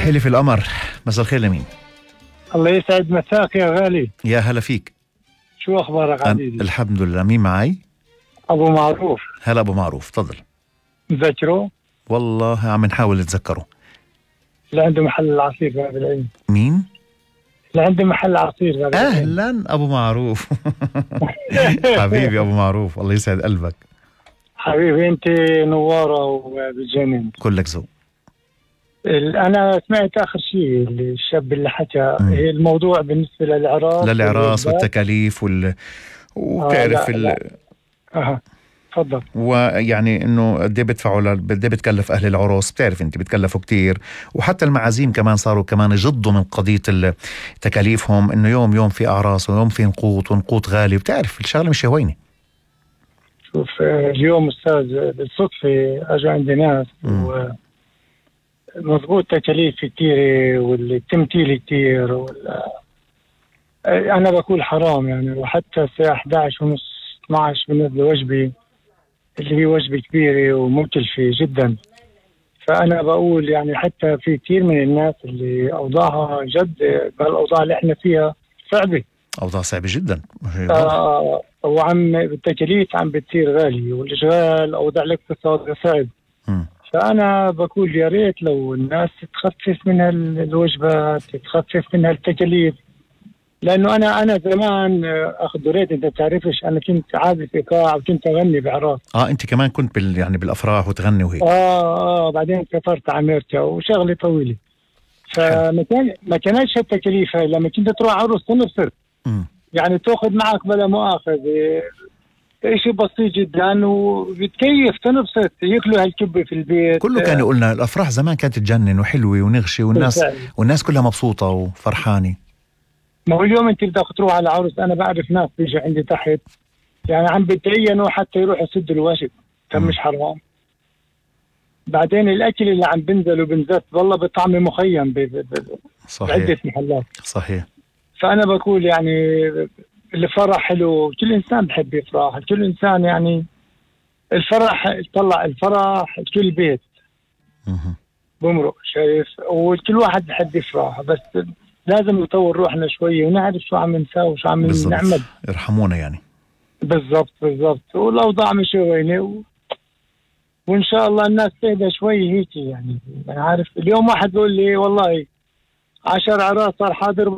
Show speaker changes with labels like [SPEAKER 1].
[SPEAKER 1] حلف القمر. مساء الخير لمين؟
[SPEAKER 2] الله يسعد مساك يا غالي.
[SPEAKER 1] يا هلا فيك.
[SPEAKER 2] شو أخبارك عزيزي؟
[SPEAKER 1] الحمد لله. مين معي؟
[SPEAKER 2] أبو معروف.
[SPEAKER 1] هلا أبو معروف، تفضل.
[SPEAKER 2] مذكره؟
[SPEAKER 1] والله عم نحاول نتذكره.
[SPEAKER 2] اللي عنده محل العصير باب العين.
[SPEAKER 1] مين؟
[SPEAKER 2] اللي عنده محل عصير باب العين.
[SPEAKER 1] أهلا أبو معروف. حبيبي أبو معروف، الله يسعد قلبك.
[SPEAKER 2] حبيبي أنت نوارة وبتجنن.
[SPEAKER 1] كلك ذوق.
[SPEAKER 2] أنا سمعت آخر شيء الشاب اللي حكى هي الموضوع بالنسبة
[SPEAKER 1] للإعراس والتكاليف وتعرف
[SPEAKER 2] تفضل.
[SPEAKER 1] ويعني انه قد ايه بيدفعوا قد ايه بتكلف اهل العروس، بتعرف انت بتكلفوا كتير، وحتى المعازيم كمان صاروا كمان يجضوا من قضيه تكاليفهم، انه يوم في اعراس ويوم في ونقوط غالي، بتعرف الشغله مش هوينه.
[SPEAKER 2] شوف اليوم استاذ بالصدفه اجوا عندي ناس مضبوط تكاليف كتير والتمثيل كتير انا بقول حرام يعني. وحتى الساعه 11 ونص 12 بنزل وجبه اللي هي وجبة كبيرة ومكلفة جدا. فأنا بقول يعني حتى في كثير من الناس اللي أوضاعها جد بالأوضاع اللي احنا فيها صعبة.
[SPEAKER 1] أوضاع صعبة جدا.
[SPEAKER 2] وعم التكاليف عم بتصير غالية والإشغال أوضاع الاقتصاد صعب. فأنا بقول يا ريت لو الناس تخفف منها الوجبات، تخفف منها التكاليف. لانه انا زمان دوريت، انت تعرفش انا كنت عازف ايقاع وكنت اغني باعراس.
[SPEAKER 1] انت كمان كنت يعني بالافراح وتغني وهيك.
[SPEAKER 2] بعدين سافرت على امريكا وشغلي طويله. ما كانتش التكاليف هاي. لما كنت تروح عروس تنبسط يعني تاخذ معك بلا مؤاخذه شيء بسيط جدا وبتكيف تنبسط، ياكلوا هالكبه في البيت.
[SPEAKER 1] كله كان يقولنا الافراح زمان كانت تجنن وحلوه ونغشه والناس كلها مبسوطه وفرحانه.
[SPEAKER 2] ما هو اليوم انت بدك تروح على عروس، انا بعرف ناس بيجي عندي تحت يعني عم بتعينوا حتى يروحوا يسدوا الواجب. كان مش حرام. بعدين الاكل اللي عم بنزل وبنزت والله بطعم مخيم بعدة محلات.
[SPEAKER 1] صحيح.
[SPEAKER 2] فانا بقول يعني الفرح حلو، كل انسان بحب يفرح، كل انسان يعني الفرح طلع الفرح كل بيت بمرق شايف، وكل واحد بحب يفرح، بس لازم نطور روحنا شوية ونعرف شو عم نساوي وشو عم نعمل.
[SPEAKER 1] ارحمونا يعني. بالضبط.
[SPEAKER 2] والأوضاع مش وينه وإن شاء الله الناس تهدى شوي هيك يعني. عارف اليوم واحد بيقول لي والله 10 عراس صار حاضر